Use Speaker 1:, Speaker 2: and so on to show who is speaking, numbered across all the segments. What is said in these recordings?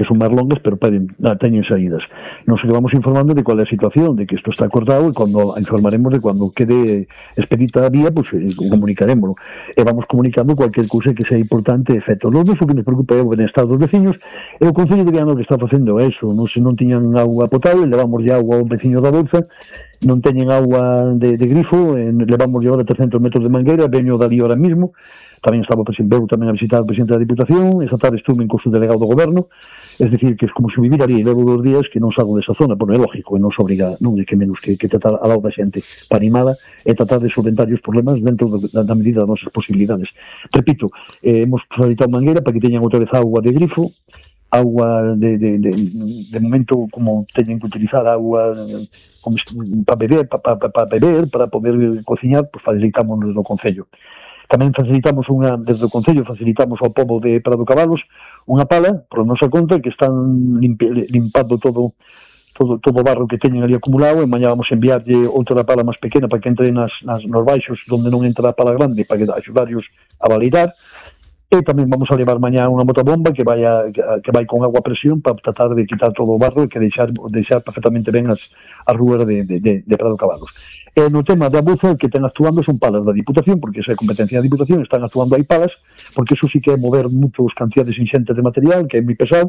Speaker 1: son máis longas, pero teñen saídas. Nos vamos informando de cual é a situación, de que isto está acordado, e cando informaremos de cando quede expedita a vía, pues comunicaremos, e vamos comunicando cualquier cousa que sea importante, efecto. Lo que nos preocupa é o benestar dos veciños, e o Concello de Viana que está facendo eso, se non tiñan agua potable, levamos de agua ao veciño da Bolsa, non teñen agua de grifo, levamos de ahora 300 metros de mangueira, veño dali ahora mismo. Tamén estaba tamén a visitar o presidente da Diputación, esta tarde estuve en curso delegado do goberno, es decir, que é como se vivir ali, levo 2 días que non salgo desa zona, pero é lógico, e non se obriga, non é que menos que tratar a lado da xente para animada e tratar de solventar os problemas dentro da medida das nosas posibilidades. Repito, hemos facilitado mangueira para que teñan outra vez agua de grifo, agua de momento, como teñen que utilizar agua para beber, para poder cociñar, pues facilitamos desde o Concello. Tamén facilitamos desde o Concello facilitamos ao pobo de Prado Cabalos unha pala, por nosa conta, que están limpando todo o barro que teñen ali acumulado, e mañá vamos enviarlle outra pala máis pequena para que entre nos baixos onde non entra a pala grande, para que axudarlos a validar. E tamén vamos a levar mañá unha motobomba que vai con agua a presión para tratar de quitar todo o barro e que deixar perfectamente ben as rúas de Prado Cabalos. E no tema da buza, que están actuando son palas da Diputación, porque esa é competencia da Diputación, están actuando aí palas, porque eso sí que é mover moitas cantidades inxentes de material, que é moi pesado,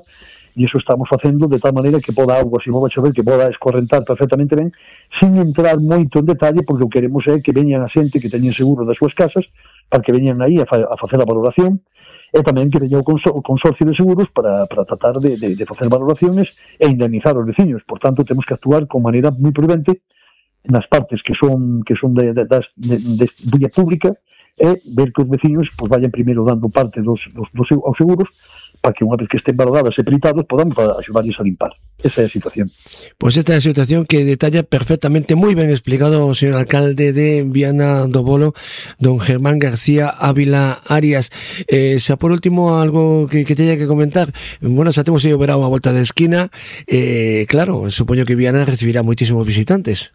Speaker 1: e eso estamos facendo de tal maneira que poda agua, se non vai chover, que poda escorrentar perfectamente ben, sin entrar moito en detalle, porque o que queremos é que veñan a xente que teñen seguro das súas casas, para que veñan aí a facer a valoración, e tamén que veña o consorcio de seguros para tratar de facer valoraciones e indemnizar os veciños. Por tanto, temos que actuar con maneira moi prudente nas partes que son de vía pública, e ver que os veciños pues vayan primeiro dando parte aos seguros, para que unha vez que estén valoradas e peritados podamos axudarles a limpar. Esa é a situación.
Speaker 2: Pois esta é a situación que detalla perfectamente, moi ben explicado o señor alcalde de Viana do Bolo, don Germán García Ávila Arias. Xa por último algo que teña que comentar, bueno, xa temos ido verao a volta da esquina, claro, supoño que Viana recibirá moitísimos visitantes.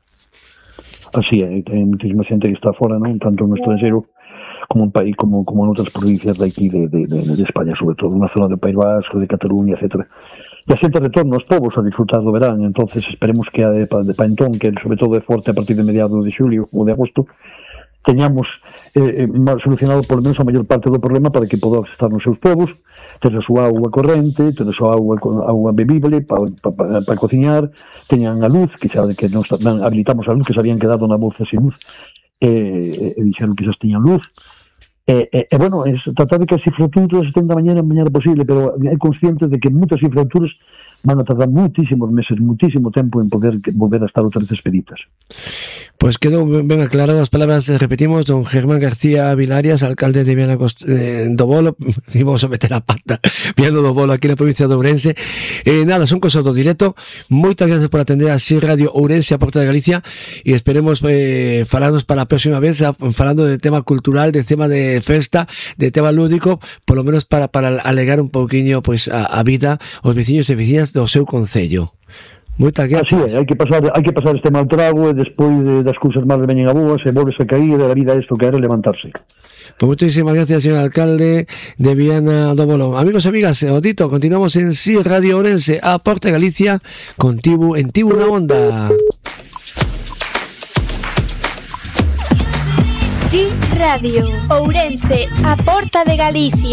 Speaker 1: Así é, ten moitísima xente que está fora, non? Tanto no estranxeiro como en país, como en outras provincias de aquí de España, sobre todo na zona do País Vasco, de Cataluña, etc. E a xente retorna aos povos a disfrutar do verán, entonces esperemos que para entón, que sobre todo é forte a partir de mediados de xulio ou de agosto, teñamos solucionado por lo menos a maior parte do problema para que podamos estar nos seus povos, ter a súa agua corrente, ter a súa agua bebible para cociñar, teñan a luz, que xa que nos habilitamos a luz, que se habían quedado na bolsa sin luz, e dixeron que xa tiñan luz. Bueno, es tratar de que as infraestructuras estén da mañana posible, pero é consciente de que moitas infraestructuras van a tardar muitísimos meses, muitísimo tempo en poder volver a estar outra vez expeditas.
Speaker 2: Pois quedou ben aclarado as palabras, repetimos, don Germán García Ávila Arias, alcalde de Viana do Bolo, íbamos a meter a pata, Viana do Bolo, aquí na provincia de Ourense. Nada, son cosas do directo. Moitas gracias por atender a Así Radio Ourense, a Porta de Galicia, e esperemos falarnos para a próxima vez, falando de tema cultural, de tema de festa, de tema lúdico, por lo menos para alegar un pouquiño pues, a vida os veciños e veciñas do seu concello. Moitas gracias.
Speaker 1: Así é, hai que pasar este mal trago, e despois das cousas malas veñen a boas, e volves a cair, e a vida é isto que era levantarse.
Speaker 2: Pues muchísimas gracias, señor alcalde de Viana do Bolo. Amigos e amigas, Otito, continuamos en Sí Radio Ourense, a Porta de Galicia, contigo en Tibu na Onda.
Speaker 3: Sí Radio Ourense, a Porta de Galicia.